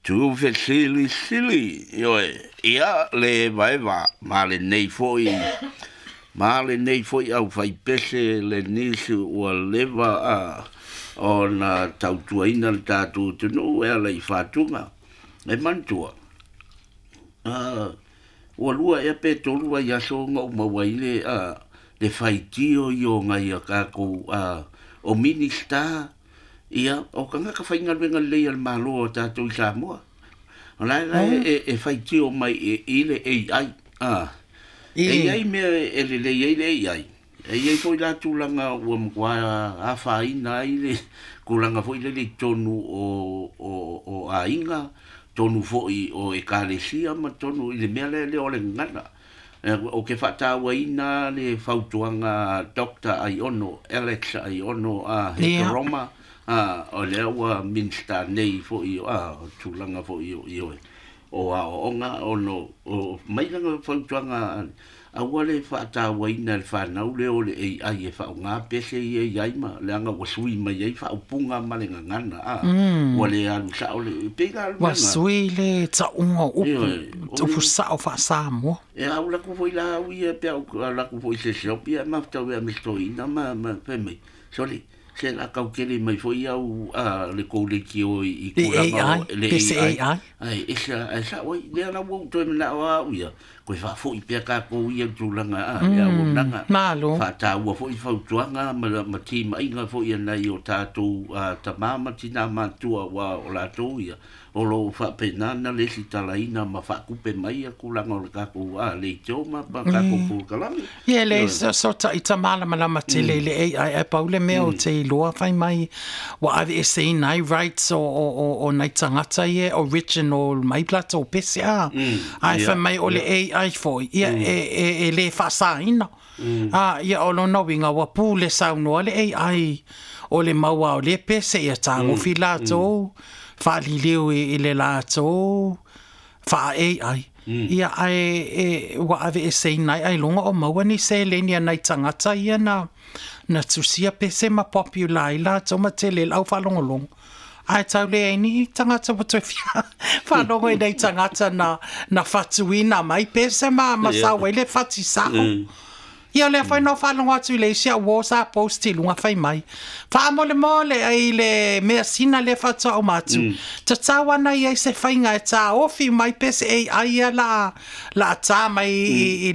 Tuufesilisili, ioe, ia le evaeva ma lenei foi ma lenei foi aufaipese le nisi ua leva a ona tautuaina le tatou atunuu e ala i fatuga. E manatua, ua lua ea pe tolu vaiaso ona ou maua ai le le faitio i o nai a tatou o Minista. Ia, o tagata faigaluega lelei a le Malo o tatou i Samoa. O la la e faitio mai i le AI. E i ai mea e lelei ai le AI. E i ai foi la tulaga ua matua afaina ai le tulaga foi lele i totonu o aiga, totonu foi o ekalesia ma totonu i le mea lea o le gagana. Ou te faatauaina le fautuaga a Doctor Aiono, Alex Aiono Hekaroma, o lea ua Minisita nei foi o tulaga foi o aoaoga, ona o mai lana fautuaga, aua le faatauaina e le fanau lea o le AI e faaaoga pese ia i ai ma leaga ua sui mai ai faaupuga ma le gagana, ua le alu sao le, e pei la o le Ua sui le tauga o upu, upu sao faa-Samoa. E au latou foi la au ia pe au latou foi se shop ia maftau e amistoina ma fai mai sole se la tau tele mai foi au a le kou leitio i tulaga o le AI ai esa ai sa oi lea la ua toe manao au ia koe faafoi pea tatou ia tulaga a le auaunaga Malo. Faataua foi fautuaga ma timaiga foi a nai o tatou tama ma tina matua ua o latou ia o lo o faapena ona lesitalaina ma faatupe mai tulaga o le tatou leitio ma tatou polokalame. Ia, e leai se ita malamalama tele i le AI, ae pau le mea ou te iloa fai mai ua aveeseina ai rights o nai tagata ia e original mai latou pese a. Ae fai mai o le AI foi, ia e le faasaina. A, ia o lona uiga ua pule saunoa le AI o le maua o lea pese ia tagofi latou faaliliu i le latou faa-AI. Ia ae ua aveeseina ai ailoga o maua ni seleni a nai tagata ia na tusia pese ma popular ai latou ma tele ai le au faalogologo. Ae tau leai ni tagata ua toe fia faalogo i nai tagata na fatuina mai pese ma sau ai le fati sao. Ia o lea foi na ou faalogo atu i le isi au uo sa post i luga fai mai, Faamolemole i le measina lea faatoa uma atu, tatau ana i ai se faiga e taofi mai pese AI ia la ta mai i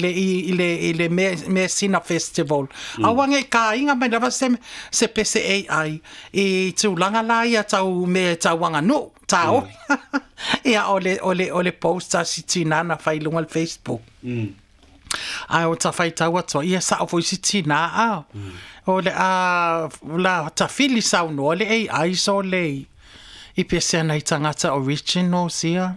le measina festival. Aua ne i kāiga mai lava se pese AI i tulaga la ia tau mea tau aganuu, taofi. Ia o le post a si tina na fai i luga o le Facebook. Ae o ta faitau atu ai, ia sao foi si tina a. O le a la tafili saunoa le AI so le i pese ana i tagata originals ia.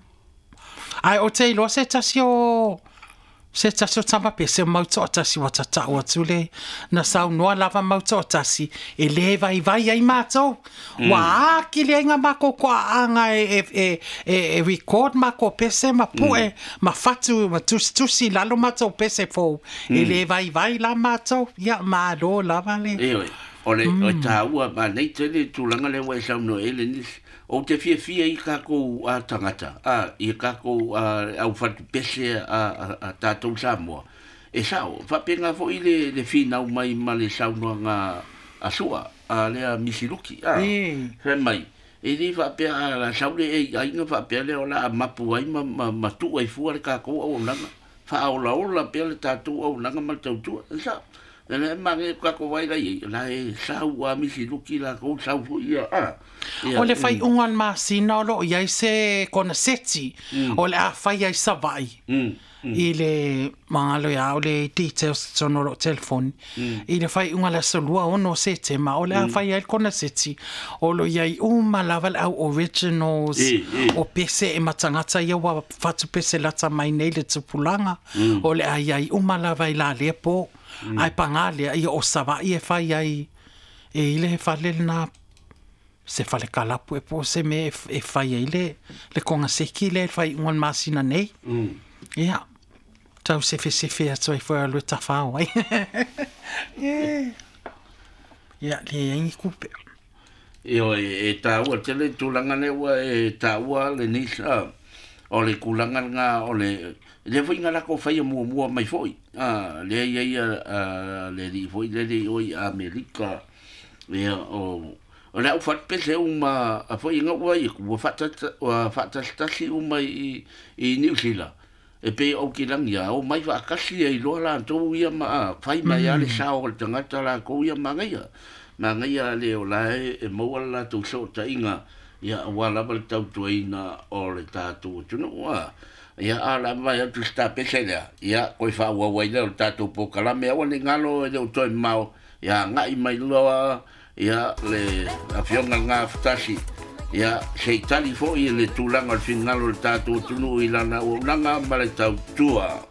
Ae o te iloa se tasi o tama pese o mau toatasi ua tatau atu le na saunoa lava mau toatasi e le vaivai ai matou. Ua akili ai ngā mākou koaaga e record mākou pese ma pue ma fatu ma tusitusi i lalo matou pese fou. E le vaivai la matou. Ia malo lava le. Ioe, o le o taua ma nei tele tulaga lea ua e saunoa ai le nisi. Ou te fiafia i tatou tagata, i tatou au fatupese a tatou Samoa. E sao, faapena foi le finau mai ma le saunoaga a Sua, a lea Misiluki. Fai mai, e le faapea a la sau le AI na faapea lea o la a mapu ai ma tuu ai fua le tatou auaunaga. Faaolaola pea le tatou auaunaga ma le tautua. E sao. E le mange tatou ai la i la e sau a Misiluki latou sau foi ia. Ia, O le faaiuga o le masina o lo o i ai se koneseti o le a fai ai Savaii i le magalo ia o le details i totonu o lou telefoni i le faaiuga le aso 26 Setema o le a fai ai le koneseti o lo o i ai uma lava le au originals o pese e ma tagata ia ua fatupese lata mai nei le tupulaga o le a i ai uma lava i la lea po ae paga lea ia o Savaii e fai ai e i le fale lena se fale kalapu e po o se mea e fai ai le koneseti lea i le faaiuga o le masina nei. Ia, tau sefesefe atu ai foi alu e tafao ai. Ia, leai ni tupe. Ioe, e taua tele le tulaga lea ua e taua Lenise, o le tulaga lena o le lea foi na latou faia muamua mai foi, lea e i ai le alii foi lele i o i Amerika, ia, o le au falepepe uma foi na ou vaai atu ua faatasitasi uma i Niu Sila, e pei o Aukilani a omai faatasi ai loa latou ia ma fai mai lava le sao o le tagata latou ia manaia. Manaia le o la e maua le latou fesootaiga, ia aua lava le tautuaina o le tatou atunuu. Ia, a o le a mavae atu se tapese lea, ia, toe faaauau ai lea o le tatou polokalame. Aua ne i galo e le o toe mamao, ia agai mai loa ia le Afioga i le Gafatasi, ia se i tali foi i le tulaga o le finagalo o le tatou atunuu i lana auaunaga ma le tautua.